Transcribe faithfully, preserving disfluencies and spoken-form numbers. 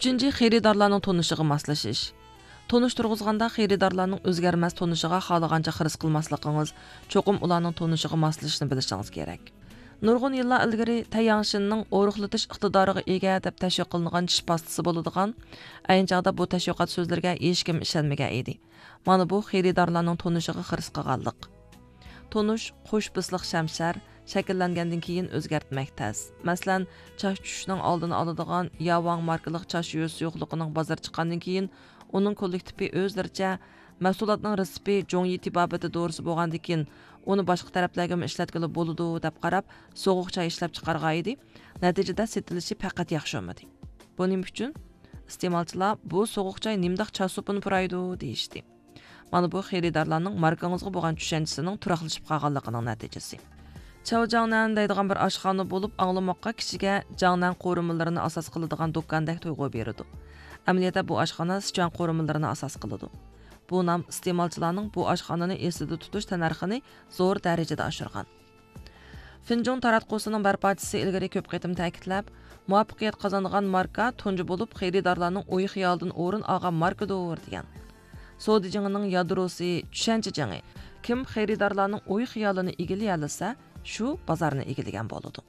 ئۈچىنچى، خېرىدارلارنىڭ تونۇشىغا ماسلىشىش. تونۇش تۇرغۇزغاندا خېرىدارلارنىڭ ئۆزگەرمەس تونۇشىغا خالىغانچە خىرىس قىلماسلىقىڭىز، چوقۇم ئۇلارنىڭ تونۇشىغا ماسلىشىشنى بىلىشىڭىز كېرەك. نۇرغۇن يىللار ئىلگىرى تەيياڭشىننىڭ ئورۇقلىتىش ئىقتىدارىغا ئىگە دەپ تەشۋىق قىلىنغان چىش پاستىسى بولىدىغان، ئەينى چاغدا بۇ تەشۋىقات سۆزلىرىگە ھېچكىم ئىشەنمىگەن ئىدى. مانا بۇ خېرىدارلارنىڭ تونۇشىغا خىرىس قىلغانلىق. تونۇش قوش بىسلىق شەمشەر، شەكىللەنگەندىن كېيىن ئۆزگەرتمەك تەس. مەسىلەن، چاچ چۈشۈشنىڭ ئالدىنى ئالىدىغان ياۋاڭ ماركىلىق چاچ يۇيۇش سۇيۇقلۇقىنىڭ بازار چىققاندىن كېيىن، ئۇنىڭ كوللېكتىپى ئۆزلىرىچە، مەھسۇلاتنىڭ رېتسېپى جوڭيى تېبابىتى دورىسى بولغاندىكىن، ئۇنى باشقا تەرەپلەرگىمۇ ئىشلەتكىلى بولىدۇ، دەپ قاراپ، سوغۇق چاي ئىشلەپ چىقارغان ئىدى. نەتىجىدە سېتىلىشى پەقەت ياخشى بولمىدى. بۇ نېمە ئۈچۈن؟ ئىستېمالچىلار، بۇ سوغۇق چاي نېمىنداق چاچ سوپىنى پۇرايدۇ، دېيىشتى. مانا بۇ خېرىدارلارنىڭ ماركىڭىزغا بولغان چۈشەنچىسىنىڭ تۇراقلىشىپ قالغانلىقىنىڭ نەتىجىسى. چاۋ جاڭنەن دەيدىغان بىر ئاشخانا بولۇپ، ئاڭلىماققا كىشىگە جاڭنەن قورۇمىلىرىنى ئاساس قىلىدىغان دۇكاندەك تۇيغۇ بېرىدۇ. ئەمەلىيەتتە بۇ ئاشخانا سىچۈەن قورۇمىلىرىنى ئاساس قىلىدۇ. بۇ نام ئىستېمالچىلارنىڭ بۇ ئاشخانىنى ئېسىدە تۇتۇش تەننەرخىنى زور دەرىجىدە ئاشۇرغان. فىنجۇڭ تاراتقۇسىنىڭ بىر پارچىسى ئىلگىرى كۆپ قېتىم تەكىتلەپ، مۇۋەپپەقىيەت قازانغان ماركا تۇنجى بولۇپ خېرىدارلارنىڭ ئوي خىيالىدىن ئورۇن ئالغان ماركىدۇر، دېگەن. سودا جېڭىنىڭ يادروسى چۈشەنچە جېڭى. كىم خېرىدارلارنىڭ ئوي خىيالىنى ئىگىلىيەلىسە، شۇ بازارنى ئىگىلىگەن بولىدۇ.